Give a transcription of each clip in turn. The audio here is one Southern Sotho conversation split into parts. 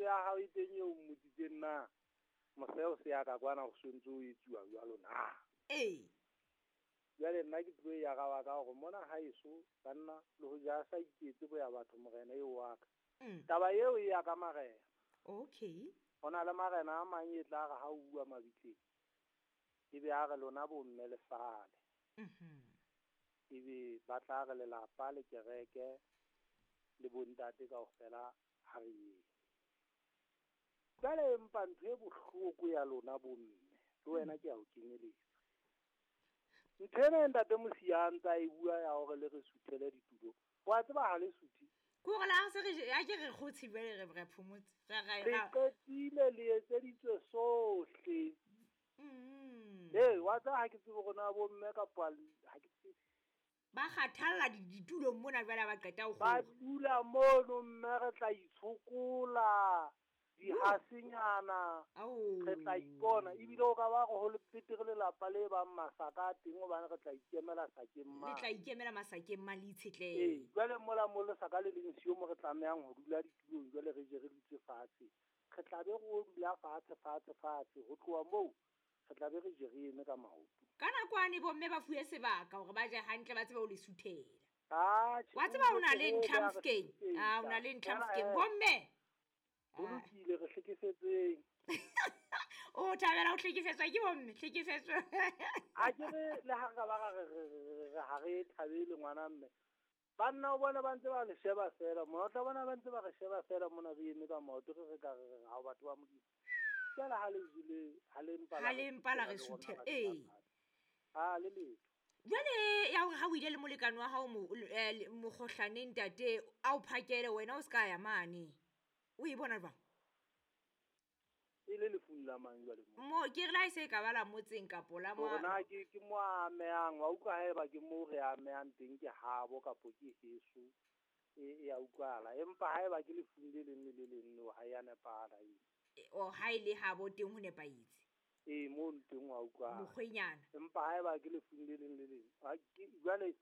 ya hao e teng eo mmotsitseng na moseo se ya ka kwana ho sontse o etsuwa jwalo na. Ee. Jwale nna ke tlo ya ka wa ka hore mona haeso banna le ho ja sa iketse bo ya batho morena eo wa ka. Taba eo e ya ka marena. Okay. Ho na le marena a mang e tla re ha o bua mabitleng ebe a re lona bomme le sale. Ebe ba tla re lelapa le kereke le bontate kaofela ha re yeng. Jwale empa ntho e bohloko ya lona bomme le wena ke a o kenyeletsa. Ntho ena ntate Mosia a ntsa e bua ya hore le re suthele ditulo. Wa tseba ha le suthe. Ke hore la se re a ke re kgotse jwale re phomotse. Re qetile le etseditswe sohle. Ee, wa tseba ha ke tsebe hore na bomme kapa ha ke tsebe. Ba kgathalla ditulong mona jwale ha ba qeta ho Ba kgora. dula mono mme re tla itshokola dihasenyana. Re tla ipona ebile o ka ba re ho le petere lelapa le bang masaka a teng hobane re tla ikemela sakeng Le mane. tla ikemela masakeng mane le itshetlehe. Ee, jwale mola mo lesaka le leng siyo mo re tlamehang ho dula ditulong jwale re je re dutse fatshe. Re tla be re dula fatshe fatshe fatshe ho tloha moo re tla be re je re eme ka maoto. Ka nakwane bomme ba fuwe sebaka hore ba je hantle ba tsebe ho le suthela. Atjhe, Wa tseba o na le o ntlha be a re Mofokeng? suthela. Ah, o na le ntlha Feela, Mofokeng. Bomme. Ho lokile re hlekefetseng. O thabela ho hlekefetswa ke bomme, hlekefetswa. A ke re le ha re ka ba ra re ha re thabele ngwana mme. Banna o bona ba ntse ba le sheba fela mona, o tla bona ba ntse ba re sheba fela mona re eme ka maoto re re ka re re ha batho ba Modimo. Jwale ha le jele, ha le mpa la Ha le mpa la re re suthela, rona ee. Ha le letho. Jwale ya hore ha o ile le molekane wa hao mokgohlaneng ntate, a o phakele wena o ska ya mane. O e bona jwang? E le lefung la mang jwale mo? Mo ke re la e se ka ba la motseng kapo la Hore mo na ke mo amehang, wa utlwa haeba ke mo re amehang teng ke habo kapo ke heso, e a utlwahala. Empa haeba ke lefung le leng le le leng leo ha ya nepahala eo. O ha e le habo teng ho nepahetse. Ee, mo teng wa utlwahala. Mokgwenyana. Empa haeba ke lefung le leng le leng, ha ke jwale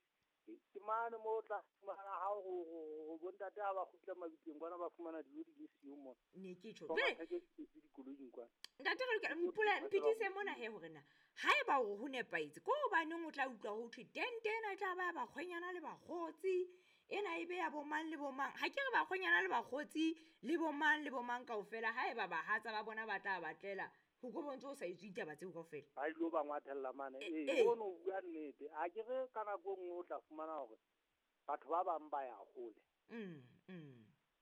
ke mane mo o tla fumana ha ho bontate ha ba kgutla mabitleng kwana ba fumana dijo di le siyo mona. Ne ke tjho. Ba Jwale ba theketse dikoloing kwana. Ntate re lokela mphitise mona he hore na haeba hore ho nepahetse ko hobaneng o tla utlwa ho thwe tente ena e tla ba ya bakgwenyana le bakgotsi, ena e be ya bomang le bomang. Ha ke re bakgwenyana le bakgotsi le bomang le bomang kaofela, haeba bahatsa ba bona ba tla batlela ho ko bontse o sa etswe ditaba tseo kaofela. Ba ilo ba ngwathella mane. Eh, Ee, eh. ono o bua nnete. Ha ke re ka nako e nngwe o tla fumana hore batho ba bang ba ya hole.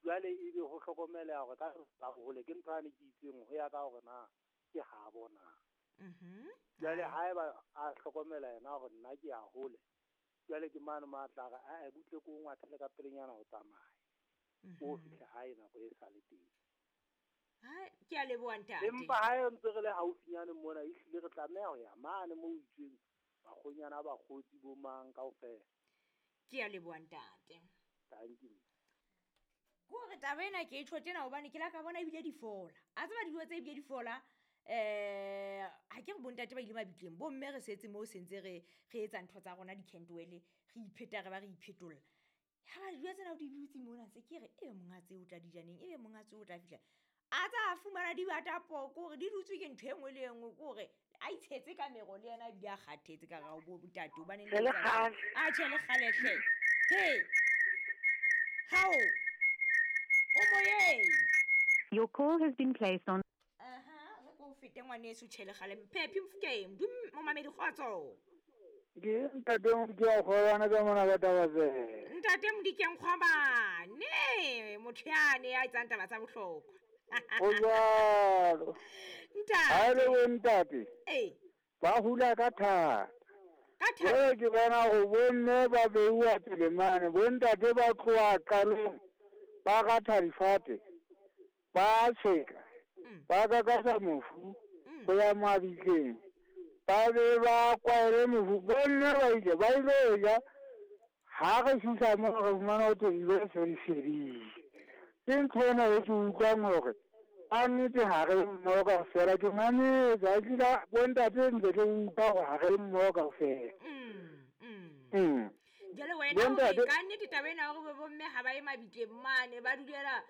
Jwale ebe ho hlokomeleha hore ka la hole ke ntho ane ke itseng ho ya ka hore na ke ha bona. Jwale haeba a hlokomela yena hore nna ke ya hole, jwale ke mane mo a tla re, ae, butle ko ngwathele ka pelenyana ho tsamaya. O fihle hae nako e sa le teng. Ha, ke a leboha ntate. Empa ha e ntse re le haufinyane mona, ehlile re tlameha ho ya mane moo ho itsweng bakgonyana ba bakgotsi bo mang kaofela. Ke a leboha ntate. Thank you. Ke hore taba ena ke e tjho tjena hobane ke la ka bona ebile di fola. A tseba dijo tse ebile di fola, ha ke re bontate ba ile mabitleng, bomme re setse moo sentse re etsa ntho tsa rona di-candle, re ipheta re ba re iphetolla. Ha ba dijo tsena o di dutse mona ntse ke re ebe monga tse o tla di ja neng, ebe monga tse o tla fihla. A tsa fumana di bata poko hore di dutswe ke ntho e nngwe le e nngwe, ke hore a itshetse ka mero le yena ebile a kgathetse ka hare ho bo ntate hobane Re le kgale. A tjhe le kgale hle. He. Hao. O moyeng. Your call has been placed on. Aha, re ko fete ngwaneso tjhe le kgale. Phephi Mofokeng, dum momamedi kgotso. Ke ntate Modikeng Kgwabane ka mona ka taba tse. Ntate Modikeng Kgwabane, motho yane ya etsang taba tsa bohlokwa. Ho jwalo. Ntate. Ha e le bo ntate. Ee. Ba hula ka thata. Ka thata. Jwale ke bona hore bomme ba beuwa pele mane, bontate ba tloha qalong, ba ratha difate, ba tsheka, ba kakasa mofu, ho ya mabitleng, ba be ba kwaele mofu. Bomme ba ile, ba ile ja, ha re fihla moo re fumana ho thwe dijo se di fedile. Ke ntho ena e ke utlwang hore ka nnete ha re mmoho kaofela. Ke mametse, ha ke la bontate ntse ke utlwa hore ha re mmoho kaofela. Jwale wena Bontate hore ka nnete taba ena ya hore bomme ha ba ye mabitleng mane, ba dulela,